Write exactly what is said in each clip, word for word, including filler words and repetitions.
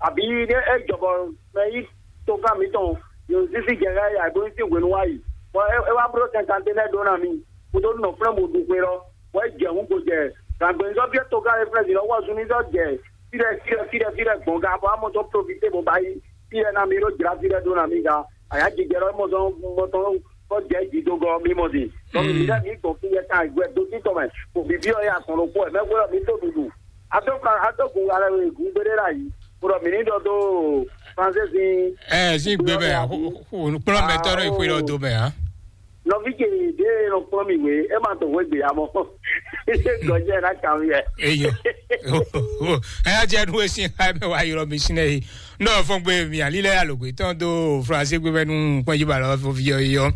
Abǐ é é jɔ bɔ mɛ yí tokán mǐtɔn yǒzísí jɛ xá yǎ bó sín hwenu wá yi, bɔ é é wá bló sɛnkanténɛ́ ɖó ná mì, kúdó nɔ flɛ́n bó ɖu xwe lɔ, bɔ é jɛ hǔn gbo jɛ gǎngbɛ́nzɔ́ byɔ́ tokán e flɛ́ vǐ lɔ wɔ zunmízɔ́ jɛ fí ɖɛ fí ɖɛ fí ɖɛ fí ɖɛ gbɔn ga, bɔ amɔ dó profité bó ba yi fí ɖɛ ná mì ɖó jlá fí ɖɛ ɖó ná mì ga. Ayǎjijɛ lɔ mɔ sɔn mɔ tɔn kɔ jɛ jǐ dó gɔ́ mì mɔ din. Dɔnku mi lɛ mi gbɔn fí yɛ kan gbɛ dó títɔ mɛ, kò bǐbí ɔ yɛ azɔn ɖokpó ɛ mɛ hwelɔ mi tó ɖuɖu. Adó kan adó gun alɛ we gun gbéɖé la yi, kúrɔ mi ní ɖɔ dó Franzézin. Ɛ sí gbé mɛ, kplɔ́n mɛ tɔ́ ɖo ìxwé lɔ dó mɛ, hã? Nɔví ce ɖé nɔ kplɔ́n mi wé, é ma dɔn hwé gbe amɔ. Gɔjɛ ná kan mi yɛ. Eyo. Ɛ yá jẹ́ nu e sin xá mɛ wá yrɔ mi sin ɛ yi. Nɔ fɔn gbe mi ali lɛ alogbe tɔn do Franse gbe mɛ nu kpɔn yi ba lɔ fɔ fi yɔ yɔ.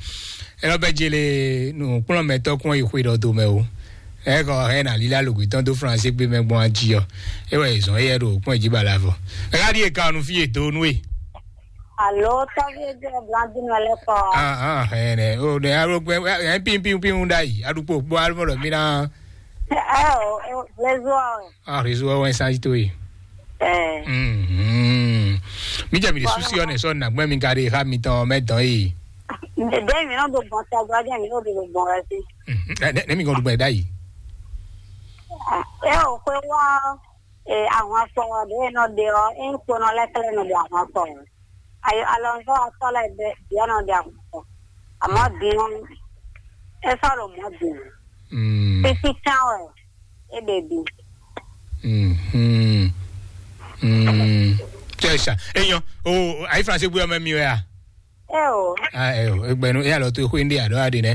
Ɛ lɔ bɛ jele nu kplɔn mɛ tɔ kpɔn yi xwe dɔ do mɛ o. Ɛ kɔ ɛ na lila alogbe tɔn do Franse gbe mɛ gbɔn aji yɔ. E wɛ zɔn yɛ do kpɔn yi ba la fɔ. Ɛ ka di e ka nu fi e do nu e. Alo, tɔvi e jɛ Blandine wɛ lɛ kɔ. Ah ah, ɛ nɛ o ne alo gbɛ ɛ pin pin pin da yi. Adukpo gbɔ alo mɔ mi na. Ɛ o, ɛ o, réseau ɔ. Ah, réseau ɔ wɛ sanji to yi. Ɛ. Mhm. Mi jɛ mi de susi ɔ ne sɔ na gbɛ mi ka de ha mi tɔn mɛ dɔn yi. Ɖe mi nɔ do gbɔn tɔgbɔ jɛ mi nɔ do gbɔn wɛ si. Mhm. Ne mi gɔn do gbɛ da yi. Ɛ o, xwe wɔ ɛ ahwan fɔ ɖe nɔ de ɔ, ɛ kpo nɔ lɛ kɛlɛ nɔ de ahwan fɔ. Ayo alɔnzɔ atɔ lɛ de diɔ nɔ de ahwan fɔ. Amɔ din ɔ, ɛ sɔ ɖo mɔ din. Mm. Títí kan wɛ. Ebe bi. Mhm. Mm. Tɛ sa. Eyan. O ayi France gbe ọmọ mi wɛ a? Eo. Ah, eo. Egbenu ya lɔ to xwe ndi ado adi ne.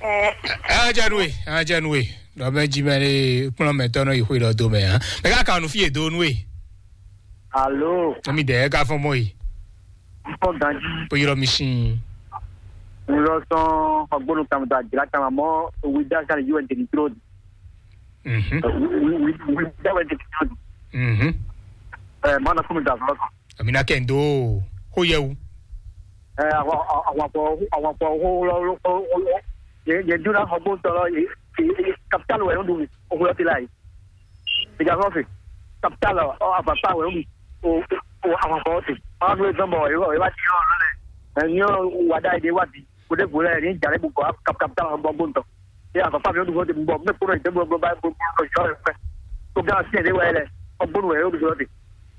Eh. Ah, janue. Ah, janue. Dɔ mɛ ji mɛ le kplɔn mɛ tɔnɔ yi xwe dɔ do mɛ ha. Mɛ ka kanu fi do nue. Alo. Mi de ka fɔ mɔ yi. Fɔ ganji. Po yɔrɔ mi sin. N lɔ sɔn ɔgbɔnu kan ta jira kan mɔ wi da kan yi wɛn teni tro. Mhm. Wi wi wi da wɛn teni tro. Mhm. Eh, mana kunu da fɔ. Amina kendo. Ho yewu. Eh, awa awa awa awa ho lo lo. Ye ye duna ɔgbɔnu tɔlɔ ye. Capital wɛ no du. O ko ti la yi. Ìjà kan fè. Capital ɔ àbàtà wẹ̀ ń o o àwọn kan ọ̀sẹ̀. Wọ́n á dúró sọ́nbọ̀ ìwọ ìwà ti yọ̀ lọ́lẹ̀. Ẹ̀yin ọ̀ wà dá èdè wà di. Kò dé gbòòrò ẹ̀ ní ìjà lẹ́gbẹ̀ẹ́ kọ̀ capital ọ̀ bọ̀ gbóǹtọ̀. Ṣé àbàtà mi ó dúró ti bọ̀ mẹ́ kúrò ìdè gbogbo bá gbogbo ọjọ́ rẹ̀ pẹ́. Tó gá sí ẹ̀dẹ́ wáyé lẹ̀ ọgbónú ẹ̀ ó dúró ti.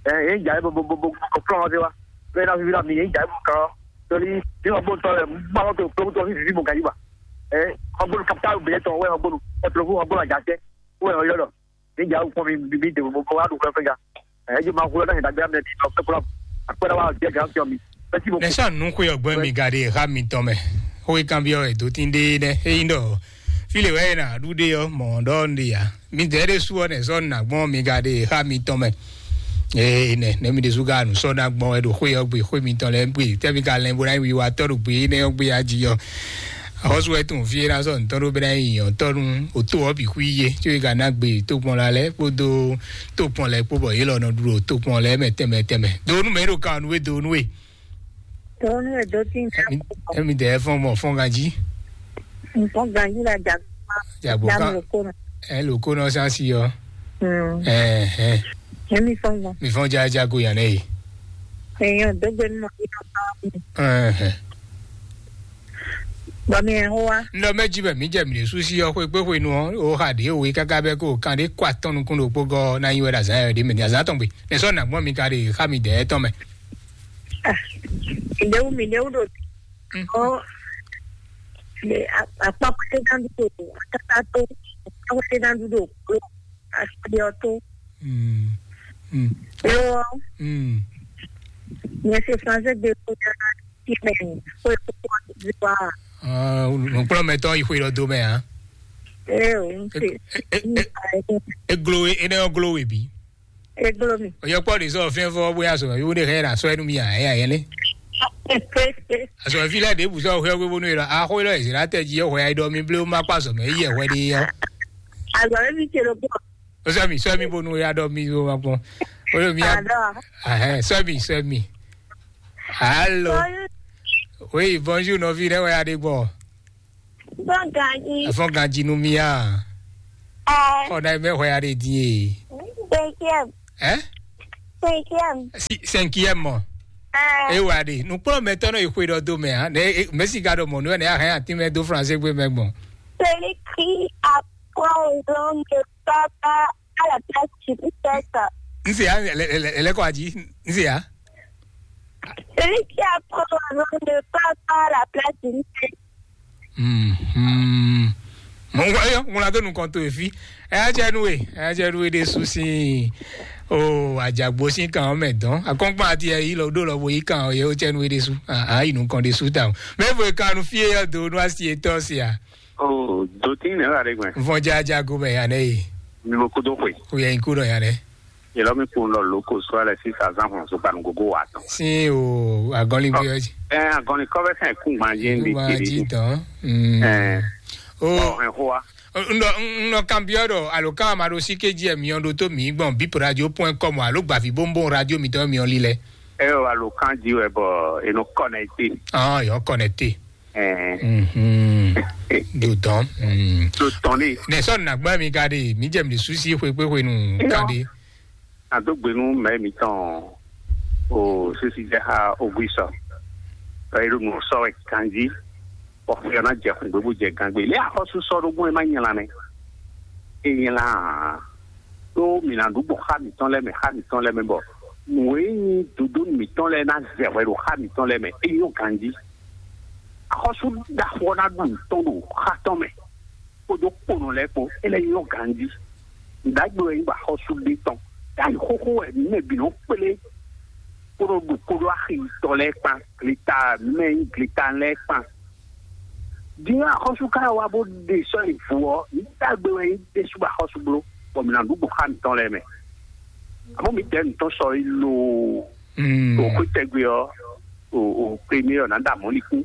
Ẹ̀ ẹ̀ ń jà ẹ̀ bọ̀ bọ̀ bọ̀ kọ̀ fúlọ̀ wọn ti wá. Bẹ́ẹ̀ náà fi fi náà mi ẹ̀ ń jà ẹ̀ bọ̀ kàn án. Torí bí ọgbóǹtọ̀ rẹ̀ ń bá wọn tó tó tó fífi mọ̀ gàdí wa. Ẹ̀ ọgbónú capital bẹ̀rẹ̀ tọ̀ wẹ́ ọgbónú ẹ̀ tó fún ọgbónú àjàṣẹ́. Wẹ́ ọ̀yọ́ lọ. Níjà ó pọ́n mi bí dèbò mo kọ́ wá dùn fẹ́fẹ́ ya. Ẹ jẹ́ máa kúrò náà ìdágbé àmì ẹ̀dín lọ fẹ́ kúrò. Àpẹẹrẹ wa jẹ́ gàá fi ọ̀mì. Ẹ tí mo kú. Nɛsɔn nukwe ɔgbɛ mi ga de ha mi tɔn mɛ. Ho kan bi ɔ edo tin de nɛ. Eyin dɔ. File wɛ na du de ɔ mɔ dɔ de ya. Mi de de su ɔ nɛsɔn na gbɔn mi ga de ha mi tɔn mɛ. Ee nɛ ne mi de su ga nu sɔ na gbɔn ɛ do xwe ɔ gbe xwe mi tɔn lɛ gbe. Tɛ mi ka lɛ bo na yi wi wa tɔ do gbe ne ɔ gbe ya ji ɔ. Xɔsu wɛ tun fie na sɔ ntɔn ɖo bena yi nyɔntɔnu oto ɔ bi hu ye tso yi ka na gbe tokpɔn la lɛ kpodo tokpɔn lɛ kpo bɔ ye lɔ nɔ ɖu ɖo tokpɔn lɛ mɛ tɛmɛ tɛmɛ. Donu mɛ ɖo kan nu e donu e. Donu e do ti. Emi dɛ fɔn mɔ fɔn ganji. Nǹkan ganji la jà. Jagbo kan. Ɛ loko nɔ sansi yɔ. Ɛɛ ɛɛ. Emi fɔn mɔ. Mi fɔn jaja go yan ne ye. Èèyàn dógbe nínú ọdún náà. Ɛɛ. Bɔ mi ẹ̀ ń wá. Ŋɖɔ mɛ jí bɛ mǐ jɛ mǐ ɖésú sí ɔ́ xwé kpé xwenu ɔ́, ó xa ɖě we káká bɛ́ kó kan ɖé kó atɔ́ nukún ɖokpó gɔ́ ná nyi wɛ ɖo azǎn yɛ ɖě mɛ din azǎn tɔn gbe. Nɛ̌ sɔ́ nǎ gbɔn mi ka ɖe xá mi dɛ̌ tɔn mɛ? Mǐɖéwú mǐɖéwú ɖo ɔ akpákpáté ná ɖu ɖo akáká tó akpákpáté ná ɖu ɖo kpló así ɔ tó. Mm. Mm. Lo ɔ Mm. Nyɛ se français de ko ya ti mɛ ko ko ko di wa. Ah, nukplɔmɛtɔ yi xwe lɔ do mɛ a? Ee o n se. Eglo we ene ɔ glo we bi. Eglo mi. Oyɔ kpɔ de sɔ fɛn fɔ bóyá sɔ mi wo de hɛ na sɔ ɛnu mi a ɛ ayɛ lɛ. Asɔ fi lɛ de bu sɔ hɛ wo bonu yɛ a xɔ lɔ ezira tɛ ji yɛ hɔ ya dɔ mi ble ma kpa sɔ mɛ yɛ hɔ de yɔ. Azɔ mi se lo bɔ. Sɔ mi sɔ mi bonu ya dɔ mi wo ma kpɔ. O mi ya. Azɔ. Ahɛ sɔ mi sɔ mi. Allô. Oui, bonjour, nɔvi ɖe wɛ aɖe gbɔ. Fɔn ganji. Fɔn ganji nu mia. Ɛ. Xɔ na mɛ xɔ ya ɖe die. Deuxième. Hein? Cinquième. Si, cinquième mɔ. Ah. E wa ɖe. Nukplɔ́nmɛtɔ́ nɔ yi xwe ɖɔ do mɛ, hã? Ne, e, mɛ si ka ɖɔ mɔ nú wɛ ne a hɛn atin mɛ do français gbe mɛ gbɔn. Celui qui apprend au nom de papa à la place du père. N se ya, lɛ, lɛ, lɛ, lɛ kɔ aji. N se ya. Celui qui apprend au nom de papa à la place du père. Mhm. Mo ŋgɔ yɔ, ŋun la do nukɔn to efi. Ɛ jɛ nu e, ɛ jɛ nu e de su si. O ajagbo si kan o mɛ dɔn. Akɔnkpa ati ɛ yi lɔ do lɔ bo yi kan o ye o jɛ nu e de su. A yi nukɔn de su ta o. Mɛ vo kan nu fie yɔ do nu asi etɔ si a. O do tin ne la de gbɛn. Vɔn ja ja go mɛ ya ne ye. Mi mo kudo xwe. O yɛ in kudo ya ne. Yelɔmi kpowun lɔ loko sɔ lɛ sisa zan hɔn so kpanu gogo wa tɔn. Sin o agɔnlin bi ɔji. Ɛn agɔnlin kɔfɛ sɛn kungban yé ndi Kungban kiri. Ji tɔn. Mm. Ɛn O ɔ ɛn hoa. N ɖɔ n nɔ kanbyɔ ɖɔ alo kan ma ɖo sí kéji ɛ miɔ ɖo tó mi gbɔn bip radio point com alo gbavi bonbon radio mitɔn miɔ lilɛ. Ɛ o alo kan ji wɛ bɔ e nɔ connecté. Ah yɔ connecté. Ɛn Mhm. Do dɔn. Mm. Do tɔn ne. Nɛ sɔ nàgbá mi ka de mi jɛ mi susi xwe kpe xwe nu Irɔ. Kan de. Adó gbe nú mɛ mitɔn o sisi jɛ ha ogui sɔ. Ɛ ɖo nǔ sɔ wɛ kanjí. Bɔ xwe ɔ́ ná jɛ xungbe bó jɛ gangbe. Lě axɔ́sú sɔ́ ɖó gbɔn é má nyla mɛ. É nyla ǎ. Ɖó mǐ ná ɖu gbɔn xá mǐtɔn lɛ́ɛ mɛ, xá mǐtɔn lɛ́ɛ mɛ bɔ nǔ e nyí dodó mǐtɔn lɛ́ɛ ná zɛ hwɛ ɖo xá mǐtɔn lɛ́ɛ mɛ. É nyɔ́ ganjí. Axɔ́sú ɖaxó ɔ́ ná ɖu nǔ tɔn ɖo xá tɔn mɛ. Kpódó kponɔ lɛ́ɛ kpó, é lɛ́ nyɔ́ ganjí. Nǔɖagbe wɛ nyí bɔ axɔ́sú ɖe tɔn. Tá yi xóxó wɛ mǐ mɛ bǐ nɔ kplé kpódó ɖu kpódó axi tɔ lɛ́ɛ kpán, gleta mɛ nyí gleta lɛ́ɛ kpán. Din axɔ́sú ka wá bó ɖe sɔ́ yi vǔ ɔ́, nǔɖagbe wɛ nyí ɖésú bɔ axɔ́sú bló, bɔ mǐ ná ɖu gbɔn xá mǐtɔn lɛ́ɛ mɛ. Àmọ́ mǐ dɛ̌ nǔtɔn sɔ yi loo. Mm. O xwé tɛgbɛ ɔ́, o o kpé mi ɔ́ ná ɖa mɔ̌likún.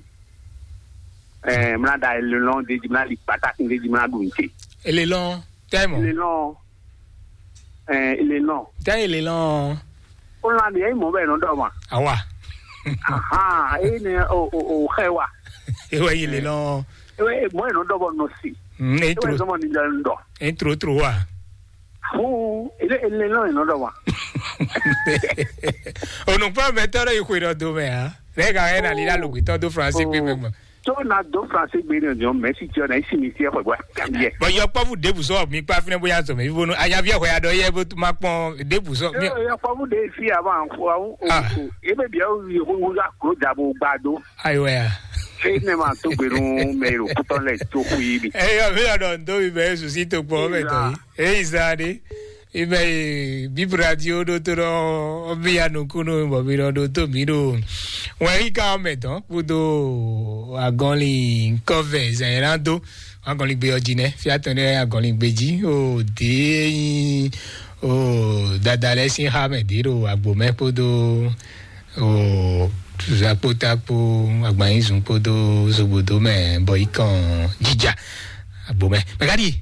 Ɛɛ mla ɖa elelɔn ɖe jí mla ɖi kpatákun ɖe jí mla ɖu nte. Elelɔn tɛmɔ. Elelɔn. Ɛɛ elelɔn. Tɛ elelɔn. Ó lan ɖe ɛyí mɔ bɛ nɔ ɖɔ ma. Awa. Ahan eyi ne o o o xɛ wa. Ewɛ yi elelɔn. Ewe mɔ yɛ nɔ ɖɔ bɔ nɔ si. Mm, e Ewe tro zɔmɔ ni lɛ nɔ ɖɔ. E tro tro wa. Fún ele ele lɔ yɛ nɔ ɖɔ ma. Onukpɔ mɛ tɔ ɖe yi xwe ɖɔ do mɛ ha. Ne ka yɛ na li la logbe tɔ do fransi gbe mɛ gbɔn. Tó na dó fransi gbe ní ọjọ́ mẹ́sì tí ọ̀nà ìsinmi sí ẹ̀fọ́ ìgbà kàmíyẹ. Bɔn yɔ kpɔfu debu sɔ mi kpa finɛ bóyá sɔ mɛ bíbónú ayavi ẹ̀họ́ ya dɔ yẹ bó ma kpɔn debu sọ. Yọ kpɔfu de fi àwọn àwọn Ah. Ebe bia wo yi hu hu akuro dabo gbado. Ayiwa ya. Fi ne ma tó gbenu mɛ ro kutɔ lɛ tó hu yi bi. Eyɔ mi lɔ dɔ ndo mi bɛ yesu si to kpɔ mɛ tɔ yi. Eyi zan de. Ibɛ yi bib radio ɖo to ɖɔ ɔbí ya nukunu bɔ mi ɖɔ ɖo to mi ɖo. Wɛn yi ka mɛ tɔn kudo agɔnli kɔvɛ zɛn yɛn na do. Agɔnli gbe ɔdzi nɛ fia tɔn ɖe agɔnli gbe dzi o de yin o dada lɛ sin xa mɛ de ɖo agbo mɛ kpodo o zakpota kpo agbanyizun kpodo zogbodo mɛ bɔ yi kàn jíjà agbo mɛ mɛ ka ɖi